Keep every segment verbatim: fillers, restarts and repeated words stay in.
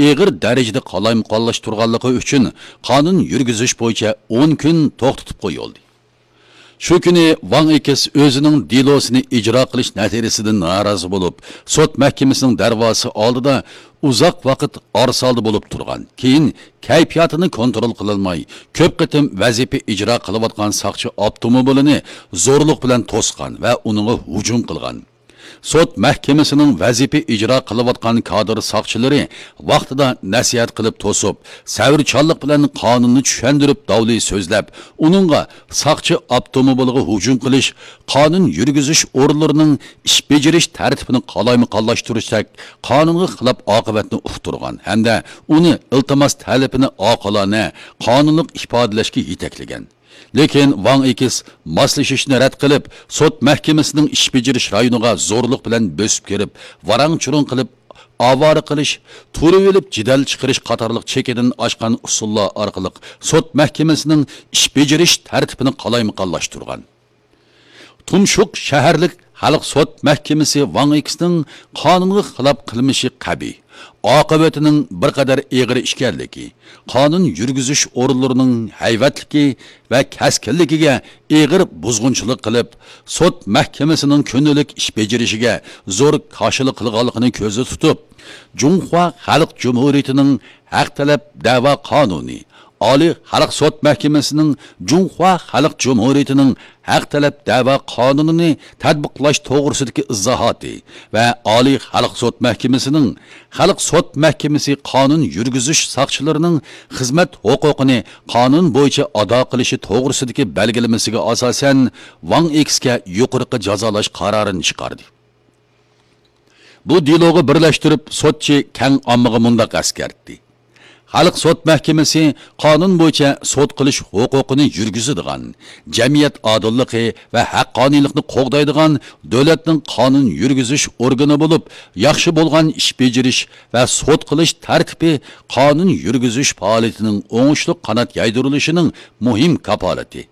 ئېغىر دەرىجىدە قالايمىقانلاشتۇرغانلىقى ئۈچۈن قانۇن يۈرگۈزۈش بويىچە ئون كۈن توختىتىپ قويۇلدى. شۇ كۈنى ۋاڭ ئېكس ئۆزىنىڭ دېلوسىنى ئىجرا قىلىش نەتىجىسىدىن نارازى بولۇپ، سوت مەھكىمىسىنىڭ دەرۋازىسى ئالدىدا ئۇزاق ۋاقىت ئارىسالدە بولۇپ تۇرغان. كېيىن كەيپىياتىنى كونترول قىلالماي، كۆپ قېتىم ۋەزىپە ئىجرا قىلىۋاتقان ساقچى ئاپتوموبىلىنى زورلۇق بىلەن توسقان ۋە ئۇنىڭغا ھۇجۇم قىلغان. سوت مەھكىمىسىنىڭ ۋەزىپە ئىجرا قىلىۋاتقان كادىر ساقچىلىرى ۋاقتىدا نەسىھەت قىلىپ توسۇپ، سەۋرچانلىق بىلەن قانۇننى چۈشەندۈرۈپ داۋلى سۆزلەپ، ئۇنىڭغا ساقچى ئاپتوموبىلىغا ھۇجۇم قىلىش، قانۇن يۈرگۈزۈش ئورۇنلىرىنىڭ ئىش بېجىرىش تەرتىپىنى قالايمىقانلاشتۇرۇشتەك قانۇنغا خىلاپ ئاقىۋەتنى ئۇقتۇرغان ھەمدە ئۇنى ئىلتىماس تەلىپىنى ئاقىلانە، قانۇنلۇق ئىپادىلەشكە يېتەكلىگەن. لېكىن ۋاڭ ئېكس ماسلىشىشنى رەت قىلىپ، سوت مەھكىمىسىنىڭ ئىش بېجىرىش رايونىغا زورلۇق بىلەن بۆسۈپ كىرىپ، ۋاراڭ-چۇرۇڭ قىلىپ، ئاۋارە قىلىش، تۇرۇۋېلىپ جېدەل چىقىرىش قاتارلىق چېكىدىن ئاشقان ئۇسۇللار ئارقىلىق سوت مەھكىمىسىنىڭ ئىش بېجىرىش تەرتىپىنى قالايمىقانلاشتۇرغان. تۇمشۇق شەھەرلىك خەلق سوت مەھكىمىسى ۋاڭ ئېكسنىڭ قانۇنغا خىلاپ قىلمىشى قەبىھ، ئاقىۋىتىنىڭ بىر قەدەر ئېغىر ئىكەنلىكى، قانۇن يۈرگۈزۈش ئورۇنلىرىنىڭ ھەيۋەتلىكى ۋە كەسكىنلىكىگە ئېغىر بۇزغۇنچىلىق قىلىپ، سوت مەھكىمىسىنىڭ كۈندىلىك ئىش بېجىرىشىگە زور كاشىلا قىلغانلىقىنى كۆزدە تۇتۇپ، جۇڭخۇا خەلق جۇمھۇرىيىتىنىڭ ھەق تەلەپ دەۋا قانۇنى، ئالىي خەلق سوت مەھكىمىسىنىڭ جۇڭخۇا خەلق جۇمھۇرىيىتىنىڭ ھەق تەلەپ دەۋا قانۇنىنى تەتبىقلاش توغرىسىدىكى ئىزاھاتى ۋە ئالىي خەلق سوت مەھكىمىسىنىڭ خەلق سوت مەھكىمىسى قانۇن يۈرگۈزۈش ساقچىلىرىنىڭ خىزمەت ھوقۇقىنى قانۇن بويىچە ئادا قىلىشى توغرىسىدىكى بەلگىلىمىسىگە ئاساسەن، ۋاڭ ئېكسكە يۇقىرىقى جازالاش قارارىنى چىقاردى. بۇ دېلوغا بىرلەشتۈرۈپ، سوتچى كەڭ ئاممىغا مۇنداق ئەسكەرتتى: خەلق سوت مەھكىمىسى قانۇن بويىچە سوت قىلىش ھوقۇقىنى يۈرگۈزىدىغان، جەمئىيەت ئادىللىقى ۋە ھەققانىيلىقنى قوغدايدىغان دۆلەتنىڭ قانۇن يۈرگۈزۈش ئورگىنى بولۇپ، ياخشى بولغان ئىش بېجىرىش ۋە سوت قىلىش تەرتىپى قانۇن يۈرگۈزۈش پائالىيىتىنىڭ ئوڭۇشلۇق قانات يايدۇرۇلۇشىنىڭ مۇھىم كاپالىتى.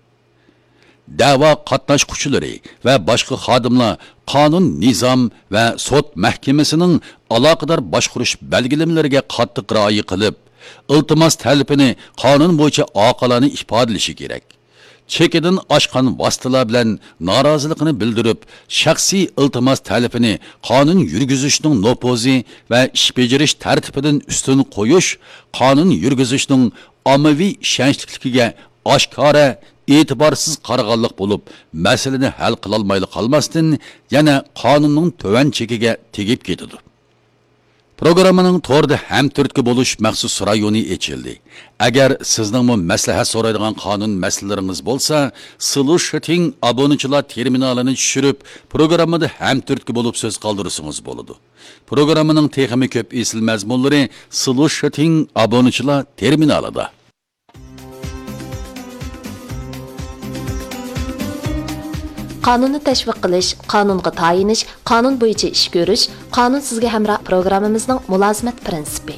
دەۋا قاتناشقۇچىلىرى ۋە باشقا خادىملار قانۇن، نىزام ۋە سوت مەھكىمىسىنىڭ ئالاقىدار باشقۇرۇش بەلگىلىمىلىرىگە قاتتىق رىئايە قىلىپ، ئىلتىماس تەلىپىنى قانۇن بويىچە ئاقىلانە ئىپادىلىشى كېرەك. چېكىدىن ئاشقان ۋاسىتىلەر بىلەن نارازىلىقىنى بىلدۈرۈپ، شەخسىي ئىلتىماس تەلىپىنى قانۇن يۈرگۈزۈشنىڭ نوپۇزى ۋە ئىش بېجىرىش تەرتىپىدىن ئۈستۈن قويۇش قانۇن يۈرگۈزۈشنىڭ ئاممىۋى ئىشەنچلىكلىكىگە ئاشكارا ئېتىبارسىز قارىغانلىق بولۇپ، مەسىلىنى ھەل قىلالمايلا قالماستىن، يەنە قانۇننىڭ تۆۋەن چېكىگە تېگىپ كېتىدۇ. پروگراممىنىڭ توردا ھەمتۈرتكە بولۇش مەخسۇس رايونى ئېچىلدى. ئەگەر سىزنىڭمۇ مەسلىھەت سورايدىغان قانۇن مەسىلىلىرىڭىز بولسا، سلۇشىتىڭ ئابۇنىچىلار تېرمىنالىنى چۈشۈرۈپ، پروگراممىدا ھەمتۈرتكە بولۇپ سۆز قالدۇرسىڭىز بولىدۇ. پروگراممىنىڭ تېخىمۇ كۆپ ئېسىل مەزمۇنلىرى سلۇشىتىڭ ئابۇنىچىلار تېرمىنالىدا. قانۇننى تەشۋىق قىلىش، قانۇنغا تايىنىش، قانۇن بويىچە ئىش كۆرۈش، قانۇن سىزگە ھەمراھ پروگراممىمىزنىڭ مۇلازىمەت پىرىنسىپى.